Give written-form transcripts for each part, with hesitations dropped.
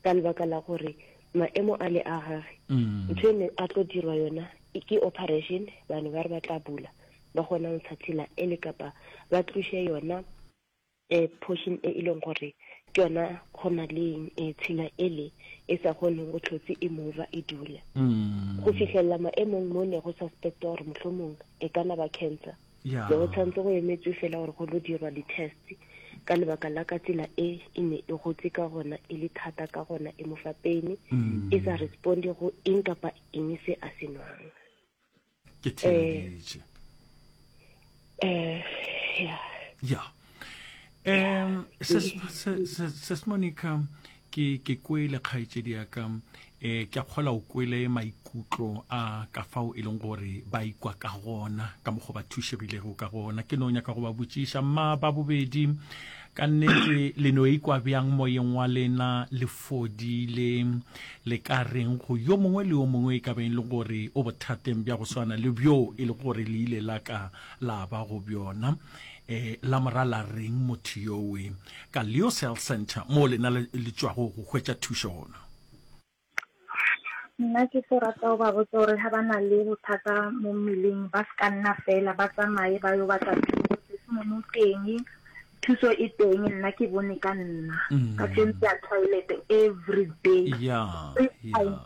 Ka lebaka la gore maemo a le a gage, ntho e ne a tlo dirwa yona ke operation, bane ba re ba tla bula ba kgona go ntsha tshila e le kapa ba tloše yona um portion e e leng gore ke yona go na le eh, tshila ele e sa kgoneng go tlhotse e mova e dula go fihlelela maemong mo ne go suspecta gore mohlomong e ka na ba cancer. Ya. Ne go tshwanetse go emetswe fela gore go lo dirwa di-test ka lebaka la ka tsela e e ne e gotse ka gona e le thata ka gona e mo fa pain e sa responde go eng kapa eng se a se nwang. Ke theeleditše. Eh, ya. Ya. Um ses Monica ke ke kwele kgaetšedi ya ka eh ke a kgola o kwele maikutlo a ka fao e leng gore ba ikwa ka gona ka mokgwa ba thušegilego ka gona. Ke no nyaka go ba botšiša mma ba bobedi ka nnete le no ikwa bjang moyeng wa lena le fodile le ka reng go yo mongwe le yo mongwe e ka beng le gore o bothateng bja go swana le bjo e le gore le ile la ka la ba go bjona eh la mora la reng motho yowe ka Leos Health Center moo lena le le tšwago go hwetša thušo gona? Nna ke tlo rata go ba botsa gore ga ba na le bothata mo mmeleng ba se ka nna fela ba tsamaye ba yo batla thuso. Testimony o teng, thuso e teng, nna ke bone ka nna. Ka tsentse ya toilet every day. Yeah, Three yeah. times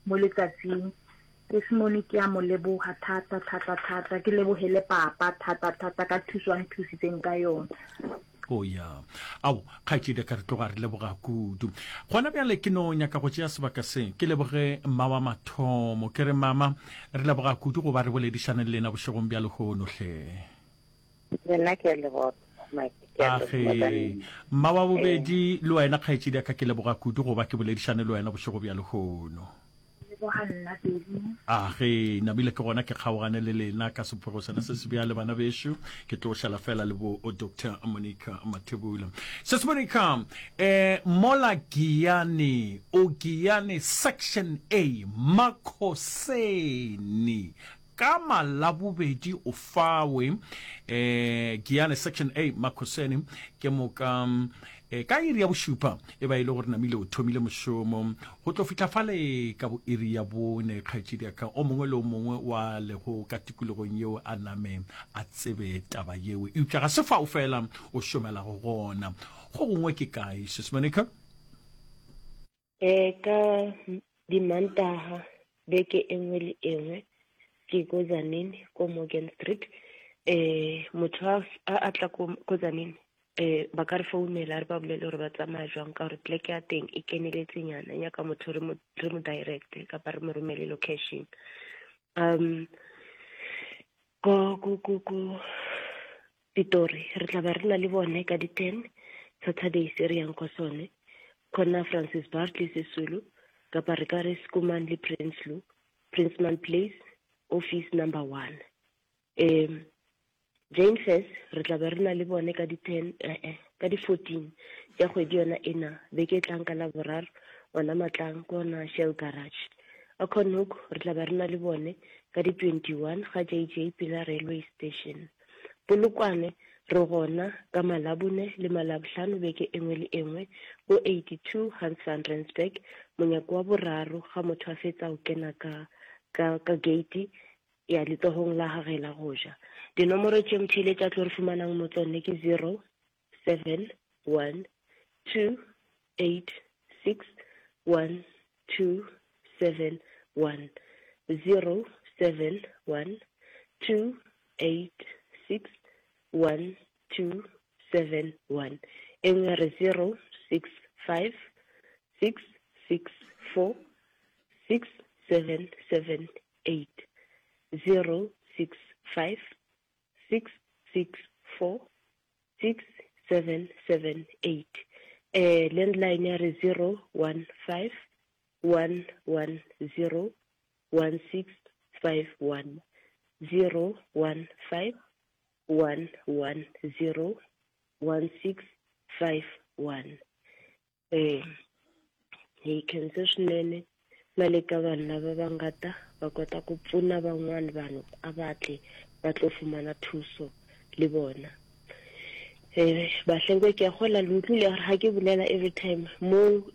mo letsatsing. Testimony ke a mo leboga thata thata thata, ke leboge le papa thata thata ka thuso a nthusitseng ka yona. O ya. Ao, kgaetšedi ka re tloga re leboga kudu. Gona bjale ke no nyaka go tšea sebaka se ke leboge mma wa mathomo. Ke re mama, re leboga kudu go ba re boledišane le lena bošegong bja lehono hle. Le nna ke a leboga Mike, ke a leboga ka Age, nna. mma wa Ee. bobedi le wena kgaetšedi ya ka ke leboga kudu go ba ke boledišane le wena bošego bja lehono. Leboga nna Beny. A ge namile ke gona ke kgaogane le lena ka sephogo sena se se bjale bana bešo, ke tlo šala fela le bo Doctor Monica Mathebula. Sis Monica, eh, mola Giyani, o Giyani Section A, Makhoseni, Ka Malabobedi o fawe eh, Giyane Section A Makhoseni ke moka eh, ka iri ya bošupa e ba e le gore namile o thomile mošomo go tlo fihla fale ka bo iri ya bone. Kgaetšedi ya ka o mongwe le o mongwe wa lego ka tikologong yeo a name a tsebe taba yeo, eupša ga se fao fela o šomelago gona, go gongwe ke kae Sis Monica? Eh, ka dimantaga beke e nngwe le e nngwe ke ko Tzaneen ko Morgan Street. Eh, motho a a tla ko ko Tzaneen eh ba ka re founela re ba bolele gore ba tsamaya jwang ka gore pleke ya teng e keneletse nyana e nyaka motho re mo re mo direct kapa re mo romele location. Um ko ko ko ko Pitori re tla ba re na le bone ka di-ten Saturday se re yang kwa sone khona Francis Bartley Sisulu kapa re ka re Schoeman le Prinsloo Princeman Place office number one um Jane Fess re tla be re na le bone ka di-ten eh, eh, ka di-14 tša kgwedi yona ena beke e tlang ka laboraro ona matlang ke ona Shell Garage Acornhoek re tla be re na le bone ka di-21 ga JJ Pila Railway Station Polokwane, Re gona ka Malabone le Malabohlano beke e nngwe le e nngwe go 82 Hans van Rensburg, monyako wa boraro ga motho a fetsa go kena ka, ka, ka gate ya letsogong la gage la go ja. Dinomoro tše motheeletši a tlo re fumanang mo tsone ke 0, 7, 1, 2, 8, 6, 1, 2, 7, 1, 0, 7, 1, 2, 8, 6, 1, 2, 7, 1. E nngwe ya re 0, 6, 5, 6, 6, 4, 6, 7, 7, 8. 0, 6, 5, 6, 6, 4, 6, 7, 7, 8. Eh, landline ya re 0, 1, 5, 1, 1, 0, 1, 6, 5, 1. 0, 1, 5, 1, 1, 0, 1, 6, 5, 1. Ee, hi khense swinene na le ka vanhu lava va nga ta va kota ku pfuna van'wana vanhu a va tle va tlo fumana thuso le bona. Eh, bahlengwe ke a gola le utlwile gore ga ke bolela every time mo ke.